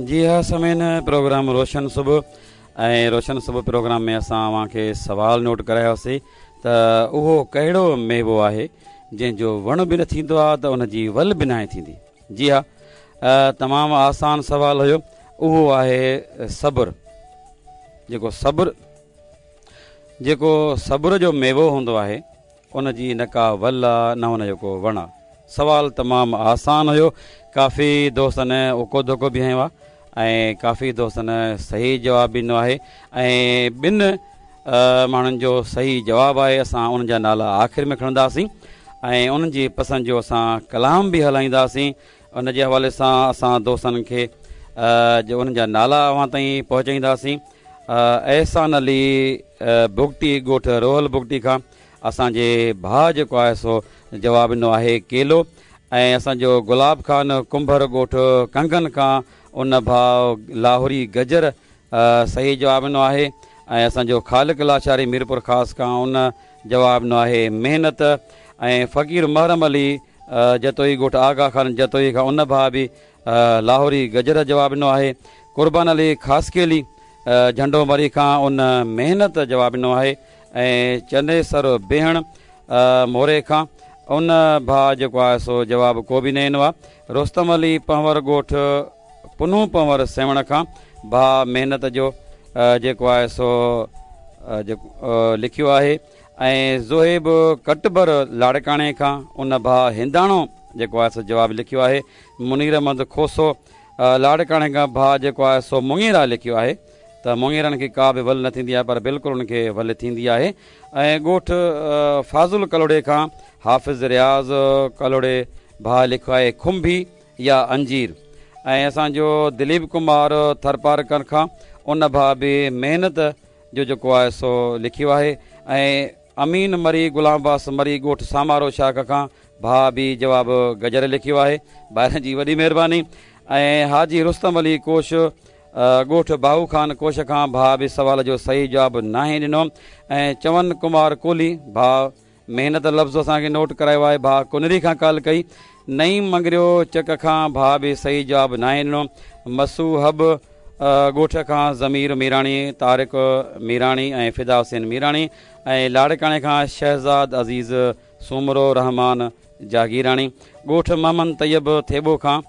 جي ها سامعين پروگرام روشن صبح ۽ روشن صبح پروگرام ۾ اسان اوهان کي سوال نوٽ ڪرايوسي ته اهو ڪهڙو ميوو آهي جنهن جو وڻ به نه ٿيندو آهي ته ان جي ول به ناهي ٿيندي جي ها تمام آسان سوال هيو اهو آهي صبر جيڪو صبر جيڪو صبر جو ميوو هوندو آهي ان جي نه ڪا ول آ نه ان جو ڪو وڻ آ. سوال تمام آسان هيو. ڪافي دوستن اڪو ڌڪو به هنيو آ ۽ ڪافي دوستن صحيح جواب به ڏنو آهي ۽ ٻن ماڻهن جو صحيح جواب آهي اسان انهن جا نالا آخر ۾ کڻنداسين ۽ انهن جي پسند جو اسان ڪلام به هلائينداسين ان جي حوالي سان اسان دوستن کي جو انهن جا نالا اوهان تائين پهچائينداسين احسان علي بگٽي ڳوٺ روحل بگٽي کان اسان جي ڀاء جيڪو آهي سو جواب ڏنو آهي ڪيلو ۽ اسان جو گلاب خان ڪنڀر ڳوٺ ڪنگن کان ان ڀاء لاهوري گجر صحيح جواب ڏنو آهي ۽ اسان جو خالق لاشاري ميرپور خاص کان ان جواب ڏنو آهي محنت ۽ فقير محرم علي جتوئي ڳوٺ آغا خان جتوئي کان ان ڀاء به لاهوري گجر جواب ڏنو آهي قربان علي خاصخيلي جهنڊو مري کان ان محنت جواب ڏنو آهي ۽ چنيسر بيهڻ موري کان ان ڀاء جيڪو آهي سو جواب ڪو به نه ڏنو آهي. رستم علي پنهور ڳوٺ پنهون پنهور سيوهڻ کان ڀاء محنت جو جيڪو آهي سو لکيو آهي ۽ زوهيب ڪٽبر لاڙڪاڻي کان ان ڀاء هنداڻو جيڪو آهي سو جواب لکيو آهي. منير احمد کوسو لاڙڪاڻي کان ڀاء جيڪو آهي سو مڱيرا لکيو آهي ته مڱيرن کي ڪا به ول نه ٿيندي آهي پر بلڪل انهن کي ول ٿيندي آهي ۽ ڳوٺ فاضل ڪلهوڙي کان حافظ رياض ڪلهوڙي ڀاء لکيو آهي کنڀي يا انجير ۽ اسان جو دليپ ڪمار ٿرپارڪر کان ان ڀاء به محنت جو جيڪو آهي سو لکيو آهي ۽ امين مري غلام عباس مري ڳوٺ سامارو شاخ کان ڀاء به جواب گجر لکيو آهي ڀائرن جي وڏي مهرباني ۽ حاجي رستم علي ڪوش ڳوٺ باهو خان ڪوش کان ڀاء به سوال جو صحيح جواب ناهي ڏنو ۽ چون ڪمار ڪولهي ڀاء محنت لفظ اسان کي نوٽ ڪرايو آهي ڀاء ڪنري کان ڪال ڪئي نعيم مڱريو چڪ کان ڀاء به صحيح جواب ناهي ڏنو مسو حب ڳوٺ کان ضمير ميراڻي، طارق ميراڻي ۽ فدا حسين ميراڻي ۽ لاڙڪاڻي کان شهزاد عزيز سومرو، رحمان جاگيراڻي، ڳوٺ محمد طيب ٿيٻو کان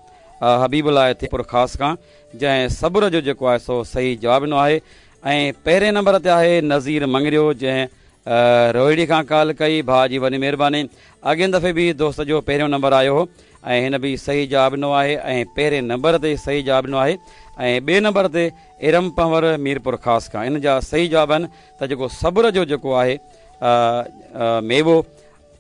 حبيب الله ٿيپور خاص کان جنهن صبر جو جيڪو آهي سو صحيح جواب ڏنو آهي ۽ پهرين نمبر تي آهي نذير مڱريو جنهن روهڙي کان ڪال ڪئي ڀاء جي وڏي مهرباني اڳين دفعي به دوست جو پهريون نمبر آيو هو ۽ هن به صحيح جواب ڏنو آهي ۽ پهرين نمبر تي صحيح جواب ڏنو آهي ۽ ٻئي نمبر تي ارم پنهور ميرپور خاص کان ان جا صحيح جواب آهن ته جيڪو صبر جو جيڪو آهي ميوو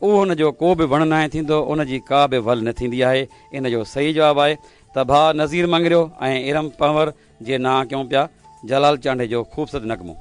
اهو ان جو ڪو به وڻ ناهي ٿيندو ان جي ڪا به ول نه ٿيندي آهي ان جو صحيح جواب آهي ته ڀاء نذير مڱريو ۽ ارم پنهور جي نانء ڪيون پيا جلال چانڊيي جو خوبصورت نغمو.